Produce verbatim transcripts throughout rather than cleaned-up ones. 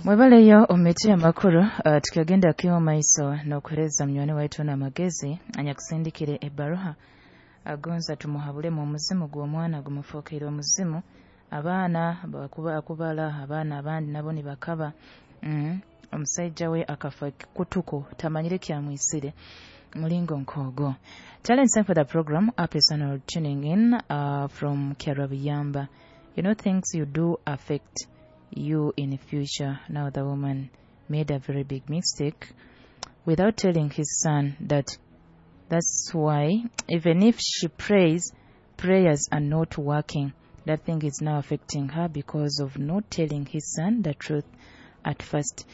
Mwebaleyo omumiti y'amakuru. uh, tukagenda kimu maiso n'okuhereza munywani waitu n'amagezi anyakusindikire ebbaruha agonza tumuhabulemu omuzimu gw'omwana gumufuukire omuzimu. Abaana bakuba akubala abaana abandi nabo nibakaba. mm. Omusaija we akafa kutuko tamanyire kyamwisire mulingo nkogo. Challenge time for the program up is on tuning in uh, from Kyarabiyamba. You know, things you do affect you in the future. Now the woman made a very big mistake without telling his son that that's why even if she prays, prayers are not working. That thing is now affecting her because of not telling his son the truth at first.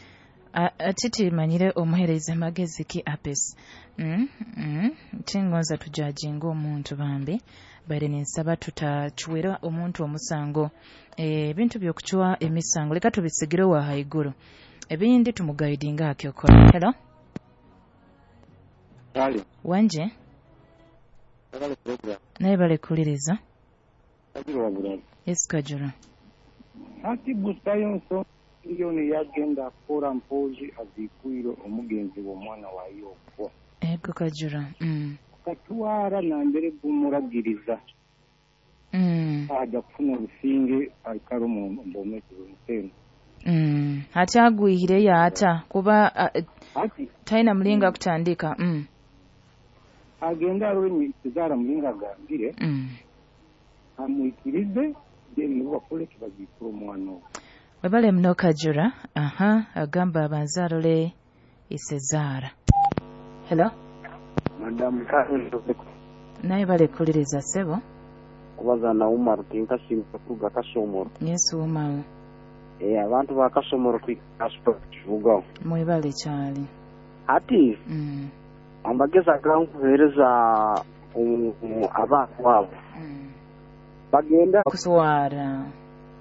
Ati manyire omuhereza magezi ki apes. mm, mm. Tingonza tujajinga omuntu bambi, baire ninsaba tutachwera omuntu omusango. Ebintu by'okuchwa emisango leka tubisigire wa haiguru, ebindi tumugaidinga akyokora. Hello. Kale. Wanje. Kale program. Naye bale kuliriza. Kajura wabulala. Yes, Kajura. Ati busayo nso miliyoni yagenda akora mpozi azikwire omugenzi w'omwana wa Yoko. Ego Kajura. Mm. Katwara nambere gumuragiriza. Mm. Aja kufuna obusinge aikara omu mbomezi bw'omusenyu. Mm. Ati agwihire yaata kuba uh, Ati talina mulinga kutandika. Mm. agenda arore kizaara mulinga agambire Mm. amwikirize then nibo bakole kibazikura omwana ogwo. Webale muno Kajura. Aha, agamba abanza arole isezaara. Hello. Madamu Karen, Naye bale kuliriza sebo. kubaza na Umar tinkasiima kuruga Kasomoro. Yesu Umaru. Eh, abantu ba Kasomoro twikaspa kivugaho. Mwebale kyali. Ati Mm. amagezi agankuheereza um, abantu abo Mm. bagenda Kuswara.